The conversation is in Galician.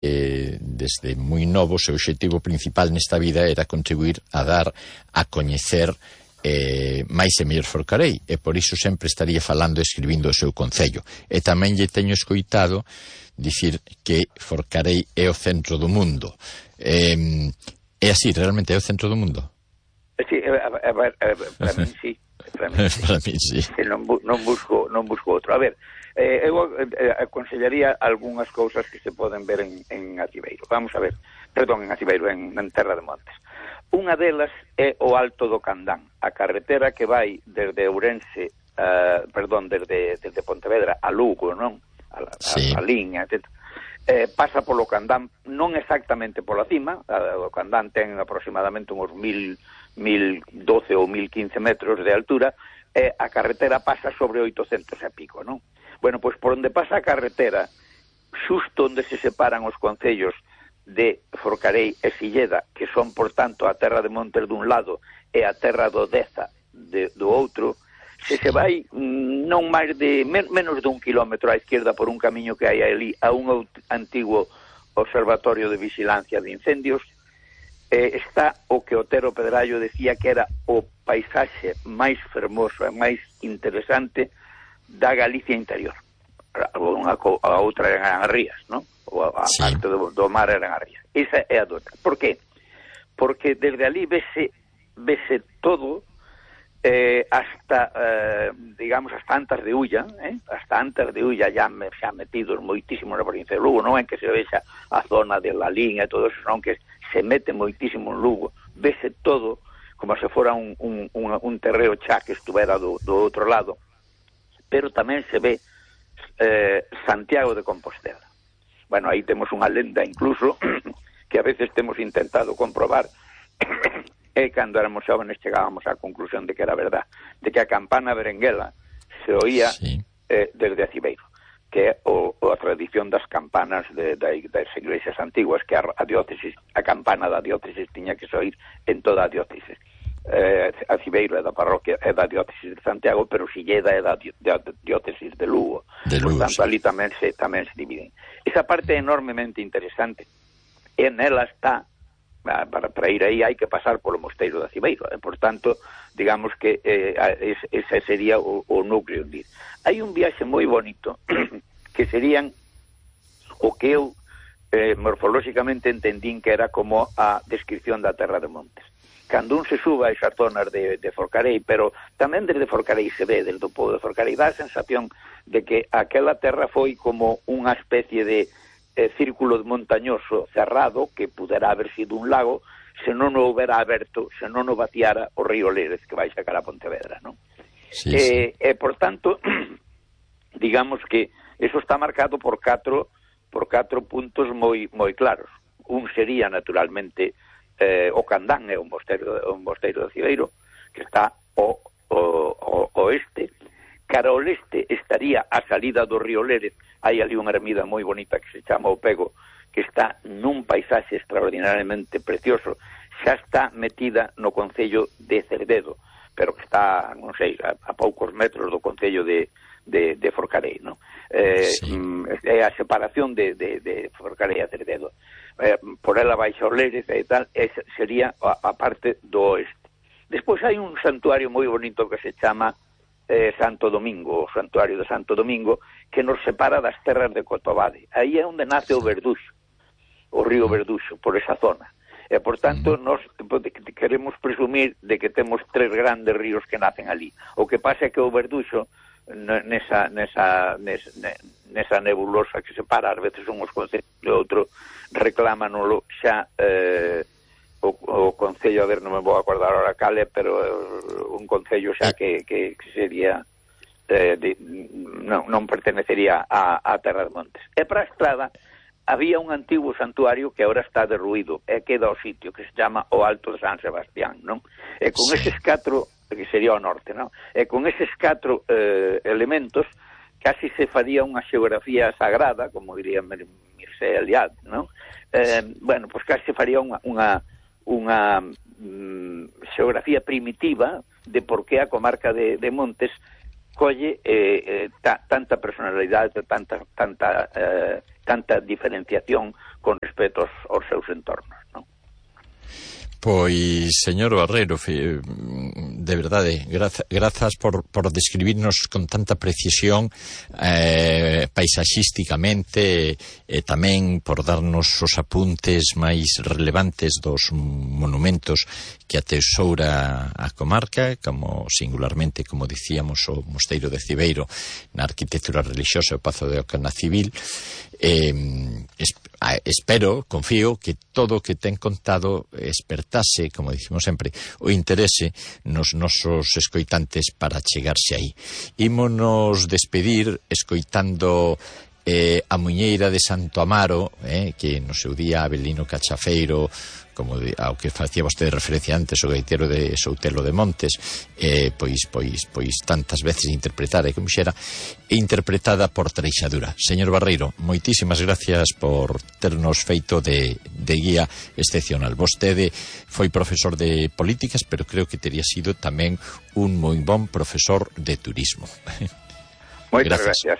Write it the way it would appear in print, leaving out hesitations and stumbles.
desde moi novo, o seu obxectivo principal nesta vida era contribuir a dar a coñecer máis e mellor Forcarei, e por iso sempre estaría falando e escribindo o seu concello. E tamén lle teño escoitado dicir que Forcarei é o centro do mundo. É así, realmente é o centro do mundo? Sí, para min sí. Para min sí. Non busco outro. A ver, eu aconsellaría algunhas cousas que se poden ver en Aciveiro. Vamos a ver, perdón, en Aciveiro, en Terra de Montes. Unha delas é o Alto do Candán, a carretera que vai desde Ourense, desde Pontevedra a Lugo, non? A liña, etc. Pasa polo Candán, non exactamente pola cima, o Candán ten aproximadamente uns 1012 ou 1015 metros de altura, e a carretera pasa sobre 800 e pico, non? Bueno, pois por onde pasa a carretera, xusto onde se separan os concellos de Forcarei e Silleda, que son, por tanto, a Terra de Montes dun lado e a Terra do Deza do outro, se vai non máis de menos de 1 kilómetro á izquierda por un camiño que hai ali a un antigo observatorio de vigilancia de incendios, está o que Otero Pedrallo decía que era o paisaxe máis fermoso e máis interesante da Galicia interior. A outra eran as rías, non? A parte do mar eran as rías. Esa é a outra. Por qué? Porque desde ali vese todo hasta, digamos, hasta Antas de Ulla, hasta Antas de Ulla xa metidos moitísimo na provincia de Lugo, non é que se vexa a zona de La Liña e todo eso, non que se mete moitísimo en Lugo, vese todo como se fora un terreo xa que estuvera do outro lado, pero tamén se ve Santiago de Compostela. Bueno, aí temos unha lenda incluso que a veces temos intentado comprobar e cando éramos xóvenes chegábamos á conclusión de que era verdad, de que a campana berenguela se oía desde Aciveiro, que é a tradición das campanas das iglesias antiguas, que a campana da diócesis tiña que se oír en toda a diócesis. Aciveiro é da parroquia, é da diócesis de Santiago, pero Silleda é da diócesis de Lugo. Por tanto, ali tamén se dividen. Esa parte é enormemente interesante, e nela está, para ir aí hai que pasar polo mosteiro de Aciveiro, por tanto, digamos que ese sería o núcleo. Hai un viaxe moi bonito que serían o que eu morfolóxicamente entendín que era como a descripción da Terra de Montes. Cando un se suba a esas zonas de Forcarei, pero tamén desde Forcarei se ve, desde o pobo de Forcarei, dá a sensación de que aquela terra foi como unha especie de círculo montañoso cerrado que pudera haber sido un lago se non o houbera aberto, se non o vaciara o río Lérez que vai sacar a Pontevedra, non? Sí. E por tanto, digamos que eso está marcado por catro puntos moi claros. Un sería, naturalmente, o Candán, é un mosteiro de Aciveiro, que está ao oeste. Cara ao leste estaría a salida do río Lérez, hai ali unha ermida moi bonita que se chama O Pego, que está nun paisaxe extraordinariamente precioso, xa está metida no concello de Cerdedo, pero que está, non sei, a poucos metros do concello de Forcarei, non? É a separación de Forcarei a Cerdedo. Por ela baixa o Lérez e tal, sería a parte do oeste. Despois hai un santuario moi bonito que se chama Santo Domingo, o santuario de Santo Domingo, que nos separa das terras de Cotobade. Aí é onde nace o Verduxo, o río Verduxo, por esa zona. E, por tanto, nos queremos presumir de que temos 3 grandes ríos que nacen ali. O que pasa é que o Verduxo, nesa nebulosa que separa, ás veces unhos concellos e outro, reclámanolo xa o concello, a ver, non me vou acordar ahora cale, pero un concello xa que sería non pertenecería a Terra de Montes. E para a estrada había un antigo santuario que agora está derruído e queda o sitio que se chama o Alto de San Sebastián, non? E con eses 4, que sería o norte, non? E con eses 4 elementos casi se faría unha xeografía sagrada, como diría Mircea Eliade, non? Bueno, pois casi se faría unha xeografía primitiva de por que a comarca de Montes colle tanta personalidade, tanta diferenciación con respecto aos seus entornos, non? Pois, señor Barreiro, de verdade, grazas por describirnos con tanta precisión paisaxísticamente e tamén por darnos os apuntes máis relevantes dos monumentos que atesoura a comarca, como singularmente, como dicíamos, o Mosteiro de Cibeiro na arquitectura religiosa, o Pazo de Oca na civil. Espero, confío, que todo o que ten contado espertase, como dicimos sempre, o interese nos nosos escoitantes para chegarse aí. Ímonos despedir escoitando a Muñeira de Santo Amaro, que no seu día Avelino Cachafeiro, como ao que facía vostede referencia antes, o gaitero de Soutelo de Montes, pois tantas veces interpretada e como xera, interpretada por Treixadura. Señor Barreiro, moitísimas gracias por ternos feito de guía excepcional. Vostede foi profesor de políticas, pero creo que teria sido tamén un moi bon profesor de turismo. Moitas gracias.